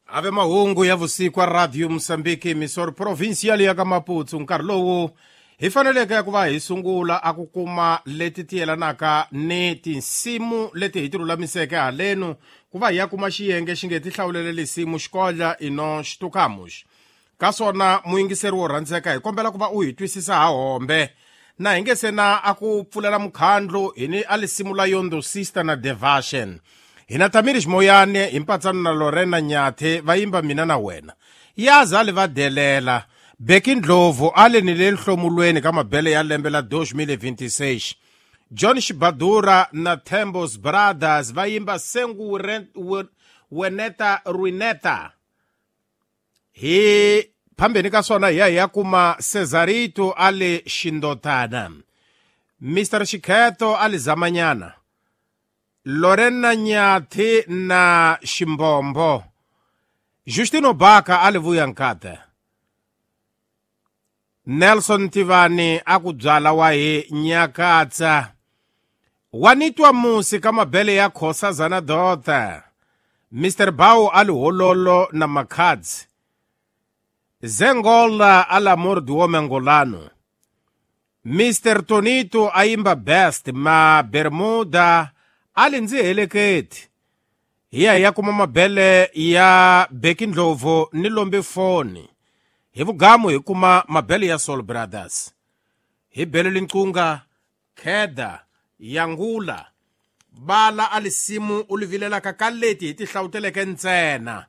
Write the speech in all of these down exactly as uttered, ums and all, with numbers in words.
Ave mahungu ya vusiku a Radio Mozambique Mysore Provincial ya ka Maputo nkarhi lowu hi faneleke ku va hi sungula a ku kuma leti ti yelanaka ni tinsimu leti hi ti lulamiseke halenu ku va hi ya kuma xiyenge xi nge ti hlawulele lisimu xikodla ino xitukamuxi ka swona muyingiseri wo rhandzeka hi kombela ku va u hi twisisa ha hombe na hi nge se na a ku pfulela mukhandlu hi ni a lisimu la Yondo Sister na Devashen hina Tamiri Ximoyane hi mpatsano na Lorena Nyathe va yimba mina na wena yaza le va delela Beki Ndlovu a le ni le nhlomulweni ka mabele ya lembe la dois mil e vinte e seis John Shibadura na Thembos Brothers va yimba Sengu Weneta Ruineta hi phambeni ka swona hi ya hi ya kuma Cesarito a le Xindotana Mister Xikheto a le Zamanyana Lorena Nyathi na Ximbombo Justino Baka a le Vuyankata Nelson Tivani a ku byala wa hi Nyakatsa Wanitwa Musi ka mabele ya Khosazana Dota Mister Bao a le Hololo na Makhadzi Zengola a l'amor do homem angolano Mister Tonito a imba best ma Bermuda a le ndzi heleketi hi ya hi ya kuma mabele ya Beki Ndlovu ni lombe foni hi vugamu hi kuma mabele ya Soul Brothers hi bele linqunga kheda yangula bala a lisimu u li vilelaka ka leti hi ti hlawuteleke ntsena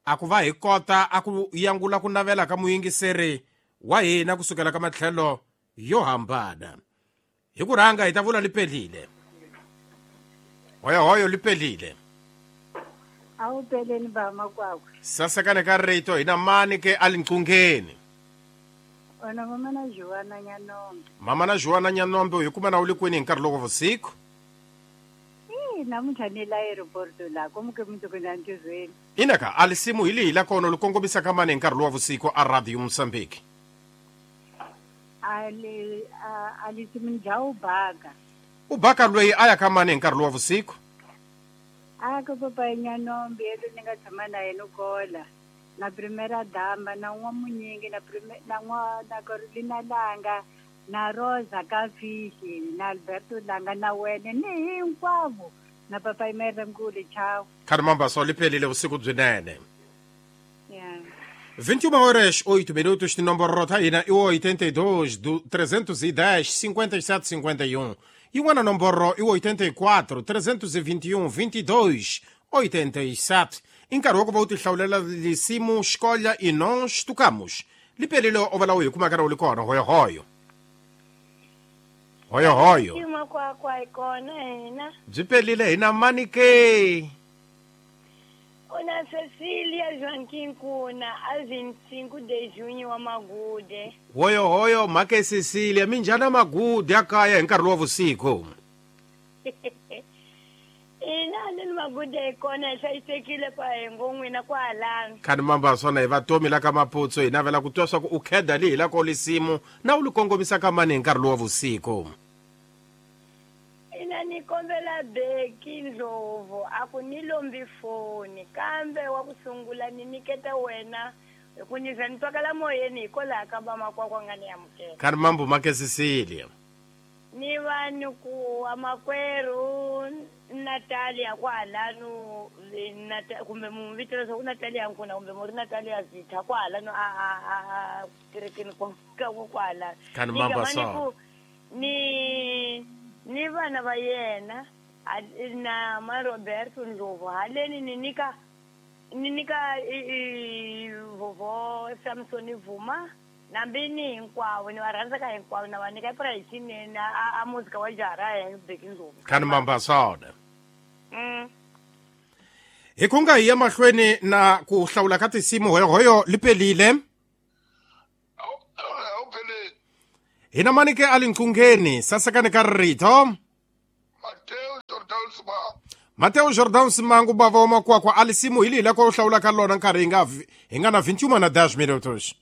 a ku va hi kota a ku yangula ku navela ka muyingiseri wa hina kusukela ka matlhelo yo hambana hi ku rhanga hi ta vula lipelile hoyo hoyo lipelile awupeleni ba makwakwe sasekane ka rito hina mani ke a linqungeni ona mama na Joana Nyanombe mama na Joana Nyanombe hi kuma na u le kwini hi nkarhi loko vusiku eh namuntlha ni la aeroporto la komuke mundzuku na ntirhweni inaka a lisimu hi lihi la kona lu kongomisa ka mani hi nkarhi lowa vusiku a Radio Mozambique a li a lisimu ni dya ubaka ubaka loyi a ya ka mani hi nkarhi lowa vusiku a ka papa Nyanombe yelo ni nga tshama na yena kola na primera dama na n'wa munyingi na prime na n'wa na Carolina Langa na Rosa Kafishi na Alberto Langa na wena ni hinkwavo na papa Imere Nkuli chao Caramba só liphelile vusiku byinene yeah vinte e uma horas oito minutos de nomboro ta hina i oitenta e dois trezentos e dez cinquenta e sete cinquenta e um yin'wana nomboro i oitenta e quatro trezentos e vinte e um vinte e dois oitenta e sete i nkarhi wa ku va u ti hlawulela lisimu xikolya i nós tocamos liphelile o va lawa hi kumaka ra u li kona hoyohoyo hoyohoyo makwakwa hi kona hina byi pelile hina mani ke una Cecilia Joaquim Kuna a vinte e cinco de junho wa Magude hoyohoyo mhake Cecilia minjhani Magude ya kaya hi nkarhi lowa vusiku ina ni Magude hi kona hi hlayisekile kwa hi ngo n'wina kwalano khani mamba swona hi vatomi la ka Maputsu hi navela ku twa swa ku u kheda lihi la ko lisimu na u li kongomisa ka mani hi nkarhi lowa vusiku ina ni kombela Beki Ndlovu a ku ni lombi foni kambe wa ku sungula ni niketa wena hi ku ni za ni twakala moyeni hikwalaho ka vamakwakwa nga ni amukela khani mambo make Cecilia ni vanhu ku amakwerhu Natalia kwalano kumbe mu vito leswaku Natalia Nkuna kumbe mu ri Natalia Zitha kwalano a a a kerekeni ka kwalano khani mamba so ni ni vana va yena na ma Roberto Ndlovu haleni ni nyika ni nyika vovo Samson Vuma nambi ni hinkwavo ni va rhandzaka hinkwavo na va nyika price a muzika wa jara ya Beki Ndlovu khani mamba swona mm hi ku nga hi ya mahlweni na ku hlawula ka tinsimu hoyohoyo liphelile hina mani ke a linqungeni sasekane ka rito Mateo Jordan Simangu Mateo Jordan Simangu bava wa makwakwa a lisimu hi lihi la ko hlawula ka lona nkarhi hi nga hi nga na vinte e uma na dez minutos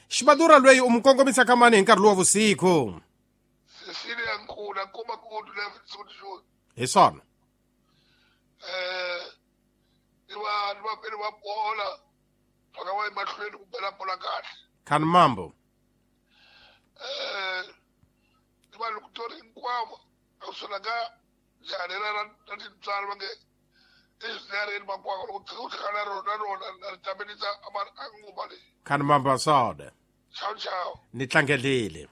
Xibadura loyi u mu kongomisa ka mani hi nkarhi lowa vusiku Cecilia Nkuna kuma ku hi swona eh vapeni va bola va nga va emahlweni ku bela bola kahle. Khani mambo. Eh ni vanhu kutori hinkwavo a kusuhi ka njhani ra ra ra tintswalo va nge ezinareni makwanga loko tshika u hlangana na rona rona na ri tamelisa a nguva leyi. Khani mambo asode. Ciao ciao. Ni tlangelile.